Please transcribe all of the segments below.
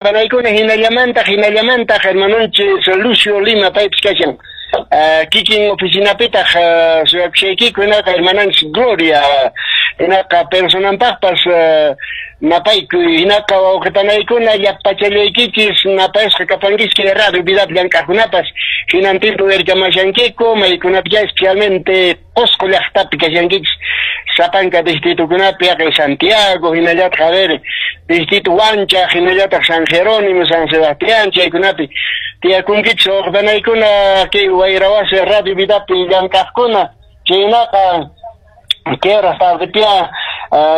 Panaykuna hinallamantaq hermanonchis Lucio Lima paypis kashan. Kikin oficinapitaq suyakushaykiku hinaqa hermananchis Gloria hinaqa personanpaqpas napaykuy hinaqa wawqipanaykuna llapachallaykichis napayasqa kapankichis kay Radio Vidapi llank'aqkunapas hinantinpi uyarikamashankiku maykunapi especialmente Qusqu llaqtapi kashankichis sapanka distritukunapi haqay Santiago hinallataq a ver distrito Huancha hinallataq San Jerónimo San Sebastián chaykunapi tiyakunkichis wawqipanaykuna kay Wayrawasi Radio Vidapi llank'aqkuna chaynaqa kay horas tardepia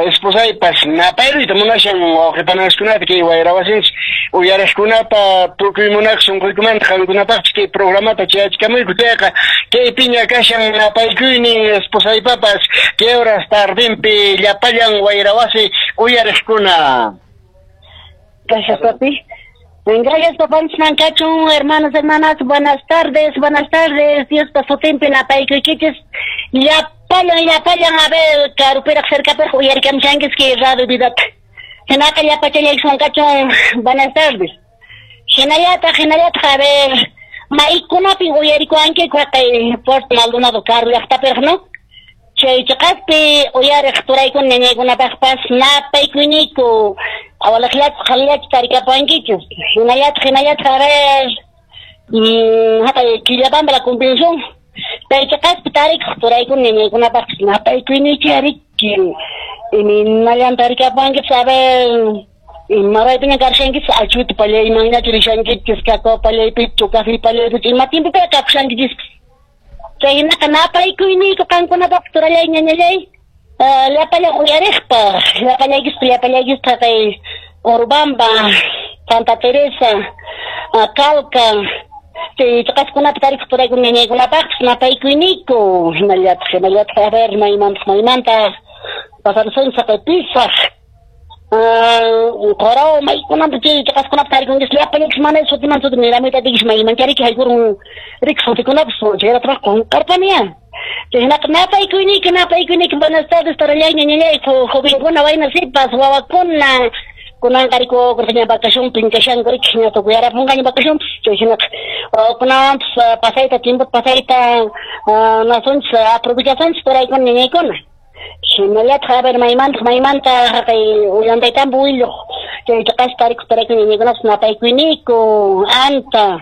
esposaypas napayruyta munashan wawqipanaskunata kay Wayrawasinchis uyariqkunata tukuy munaq sunquykumanta qankunapaqpis kay programata chayachkamuyku chayqa kaypiña kashan napaykuynin esposaypapas kay horas tardinpi llapallan Wayrawasi uyariqkuna. Gracias, papi. Gracias, papanchis kachun, hermanos, hermanas, buenas tardes, buenas tardes. Diospa sutinpi napaykuykichis. Llapallan, llapallan, a ver, karupiraq, cercapiraq uyarikamshankichis kay Radio Vidata. Hinaqa llapachallaykichis kachun, buenas tardes. Hinallataq, hinallataq, a ver, maykunapin uyarikuwankiku haqay Puerto Maldonado karu llaqtapiraq, no? Chay chiqaspi uyariq turaykuna ñañaykunapaqpas napaykuyniku awalaqllachu qhalillachu tarikapuwankichis. Hinallataq, hinallataq, a ver, haqay Quillabamba la convención. Chay chiqaspi tarikuq turaykuna ñañaykunapaqpas napaykuyniku ariki. Imaynallan tarikapuwankichis, a ver, imaraypiña karshankichis, achuta pallaymanñachu rishankichis, cacao pallaypichu, café pallaypichu, ima tiempopiqa kakushankichis. Chaynaqa napaykuyniku qankunapaq turallay ñañallay, llapallan uyariqpaq, llapallaykispa, llapallaykispa kay Urubamba, Santa Teresa, Calca, chay chiqaskunapi tarikuq turaykuna ñañaykunapaqpis napaykuyniku. Hinallataq, hinallataq, a ver, maymantaq, maymantaq pasarsunchis haqay Pisaq, Qorao, maykunapi chay chiqaskunapi tarikunkichis llapallaykis mana sutiman suti niramuyta atikichis maymanchariki haykurun riki sutikunapis chayratraq qunqarpaniya. Chaynaqa napaykuyniku, napaykuyniku, buenas tardes, turallay, ñañallay, jovenkuna, wayna sipas, wawakuna. Kunanqa riku ña vacacionpi kashanku riki ña tukuyarapunqaña vacacionpis chayhinaqa wawakunawanpis pasayta tiempota pasayta nasunchis aprovechasunchis turaykuna ñañaykuna. Hinallataq, a ver, maymantaq, maymantaq haqay Ollantaytambo willuq chay chiqaspi tarikuq turaykuna ñañaykunapis napaykuyniku, Anta,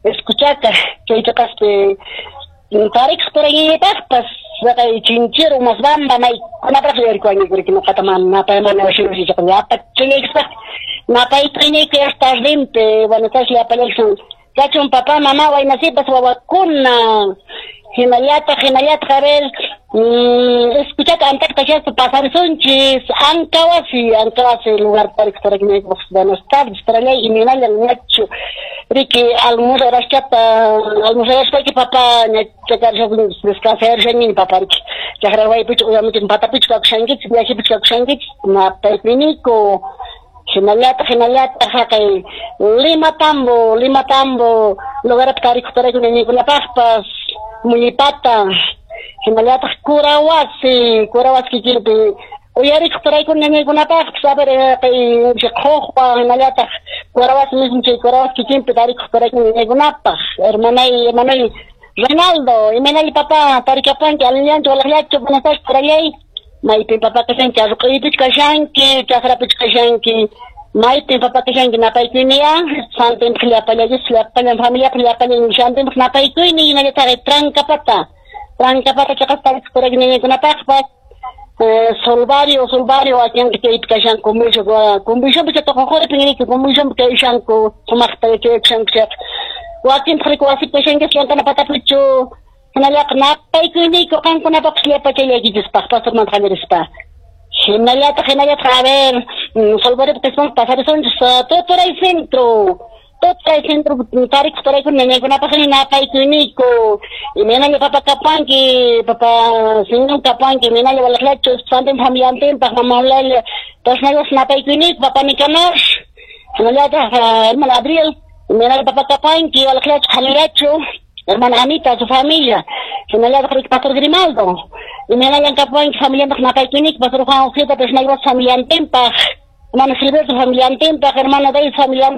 Escuchaca, chay chiqaspi tarikuq turay ñañaypaqpas haqay Chinchero, Masbamba, maykunapaq uyarikuwankiku riki nuqata mana napay mana washirusichaqa llapachallaykispaq napaykuyniku yas tardinpi. Buenas tardes llapallaykichis kachun papá, mamá, wayna sipas, wawakuna. Hinallataq, hinallataq, a ver, escuchata antaqta shaspa pasarisunchis, Ancawasi, Ancawasi lugar tarikuq turaykuna buenas tardes, turallay, imaynallan ñachu riki almuzarashchata, almuzarashpayki papá ña chakarishaq descansarishani papá riki chakra waypichu uyamuchik patapichu kakushankichis, viajepichu kakushankichis, napaykuyniku. Hinallataq, hinallataq, haqay Lima Tambo, Lima Tambo lugarpi tarikuq turaykuna ñañaykunapaqpas Muñipata, hinallataq Curawasi, Curawasi kikinpi uyarikuq turaykuna ñañaykunapaqpas, a ver, haqay Qhuqwa, hinallataq Curawasi mismo chay Curawasi kikinpi tarikuq turaykuna ñañaykunapaq. Hermanay, hermanay Reinaldo, imaynalli papá tarikapuwanki, allinllanchu, walaqllachu, buenas tardes, turallay. Maypin papá kashanki, arruq'uypichu kashanki, chakrapichu kashanki, maypin papá kashanki, napaykuyniya, santinpaq llapallaykichis, llapallan familiapaq, llapallan shantinpaq napaykuyni, hinallataq Trancapata, Trancapata chiqaspi tarikuq turaykuna ñañaykunapaqpas, Solvario, Solvario, wakinqa chaypi kashanku, convencionpi chay Toqoqoripin riki, convencionpi kashanku, sumaqta yachayakushanku chayqa. Wakintaq riki wasipi kashankichis, llank'ana patapichu, hinallaqa napaykuyniku qankunapaqpas llapachallaykichispaq, pastormanta qallarispa. Hinallataq, hinallataq, a ver, Solvariopi qismanqa pasarisunchis, Tuturay Centro, Tuturay Centro tarikuq turaykuna ñañaykunapaq napaykuyniku. Imaynalla papa kapanki, papa señor kapanki, imaynalla walaqllachu, santinpaq familiantinpaq, mama Eulalia, personalpas napaykuyniku, papa Nicanor, hinallataq, hermano Abril, imaynalla papa kapanki, walaqllachu, qhalillachu, hermana Anita, su familia, hinallataq riki Pastor Grimaldo, imaynallan kapuwanki familianpaq napaykuyniku, Pastor Juan Ojeda, personalpas familiantinpaq. Hermano Gilberto familiantinpaq, hermano David familiantinpaq.